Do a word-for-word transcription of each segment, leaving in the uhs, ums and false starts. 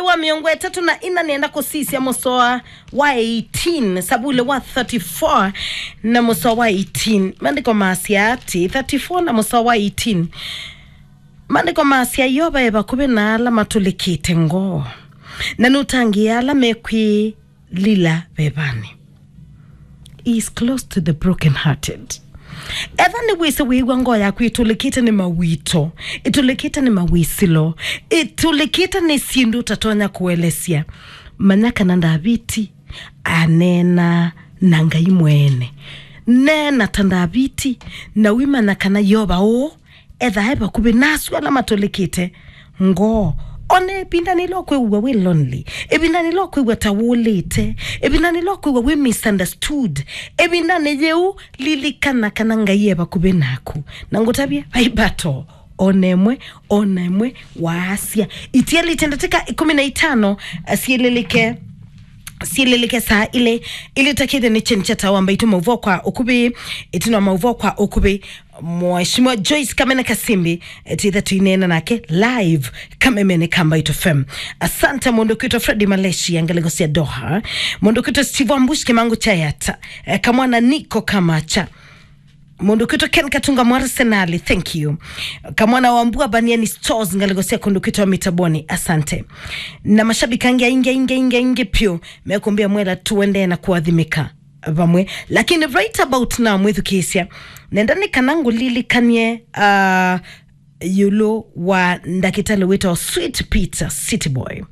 wa mĩongo ĩtatũ na ĩna nĩenda kũsisya mũsoa wa eighteen, Savulĩ wa thirty-four na mũsoa wa eighteen. Maandĩko masya atĩ, thirty-four na mũsoa wa eighteen, Maandĩko masya, Yeova e vakuvĩ na ala matũlĩkĩte ngoo, na nũtangĩĩa ala mekwĩlila vevanĩ. He is close to the broken hearted. Etha nĩwĩsĩ wĩĩw'a ngoo yaku ĩtũlĩkĩte nĩ mawĩto, ĩtũlĩkĩte nĩ mawĩsĩlo, ĩtũlĩkĩte nĩ syĩndũ ũtatonya kũelesya, manya kana Ndaviti aneena na Ngai mwene. Neena ta Ndaviti, na ũimanya kana Yeova ũũ ethaa e vakuvĩ nasu ala matũlĩkĩte ngoo. Ona ĩvindanĩ ĩla ũkwĩw'a wĩ lonely, ĩvindanĩ ĩla ũkwĩw'a ta wũlĩte, ĩvindanĩ ĩla ũkwĩw'a wĩ misunderstood, ĩvindanĩ yĩu lilikana kana Ngai e vakuvĩ naku. Na ngũtavye, vai mbato ona ĩmwe, ona ĩmwe waasya. Itialĩte ndatĩka ĩkũmi na itano, eh, syĩlĩlĩke, syĩlĩlĩke saa ilĩ. Ilĩtakĩte nĩ kyeni kya Tawa Mbaitũ maũvoo kwa ũkuvĩ. Ĩtina wa maũvoo kwa ũkuvĩ, Mheshimiwa Joyce Kamene Kasimbi, eh, titha tũineena nake live kamemene ka Mbaitũ F M. Asante mũndũ kwĩtwa Freddy Maleshi ya ngalĩko sya Doha. Mũndũ kwĩtwa Steve Ambush Kimangu Chayata. Eh, kamwana Niko Kamacha. Mũndũ kwĩtwa Ken Katunga mwa Arsenal, thank you. Kamwana wa Mbua Baniani Stores, ngalĩko sya kũndũ kwĩtwa Mitaboni, asante. Na mashabiki angĩ aingĩ, aingĩ, aingĩ, aingĩ piũ, mekũmbĩa mwela tuendee na kũathimĩka vamwe. Lakini right about now, mwĩthukĩĩsya, nenda nĩ kana ngũlilikanie, ah, ĩũlũ wa ndakĩtalĩ wĩtawa Sweet Peter City Boy.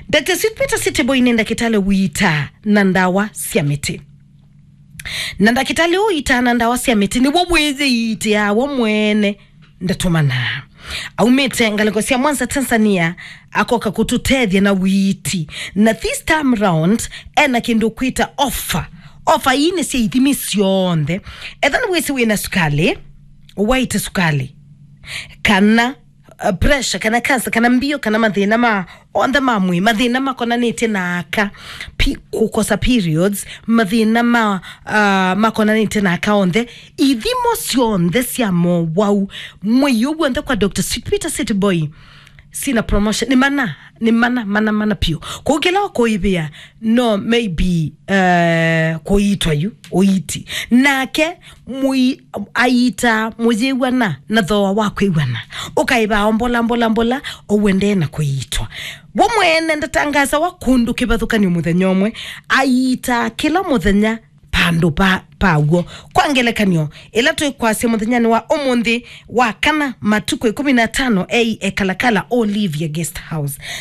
Doctor Sweet Peter City Boy nĩ ndakĩtalĩ ũiitaa na ndawa sya mĩtĩ. Na ndakĩtalĩ ũũ ũiitaa na ndawa sya mĩtĩ nĩw'o wĩyĩiitĩaa we mwene, ndatũmanaa. Aumĩte ngalĩko sya Mwanza, Tanzania, akoka kũtũtethya na ũiiti. Na this time round, ena kĩndũ kwĩta offer. Offer ii nĩ sya ithimi syonthe. Etha nĩwĩsĩ wĩna sukalĩ, waĩte sukalĩ, kana, uh, pressure, kana cancer, kana mbio, kana mathĩna ma onthe ma mwĩĩ, mathĩna makonanĩtye na aka, pi-, kũkosa periods, mathĩna ma, uh, makonanĩtye na aka onthe, ithimo syonthe sya mowau, mwĩĩ ũũ w'onthe kwa Doctor Sweet Peter City Boy, sina promotion, nĩ mana, nĩ mana, mana, mana piũ. Kũu kĩla ũkũĩvĩa, no maybe, uh, kũiitwa yu, ũiiti. Nake mũi-, aiitaa mũyĩw'ana na thooa wa kwĩw'ana. Ũkaĩvaa o mbola, mbola, mbola, o ũendee na kũiitwa. We mwene ndatangasawa kũndũ kĩvathũkany'o mũthenya ũmwe, aiitaa kĩla mũthenya vandũ pa, paw'o. Kwa ngelekany'o, ĩla twĩkwasya mũthenyanĩ wa ũmũnthĩ wa kana matukũ ĩkũmi na atano ei ekalakala Olivia Guest House.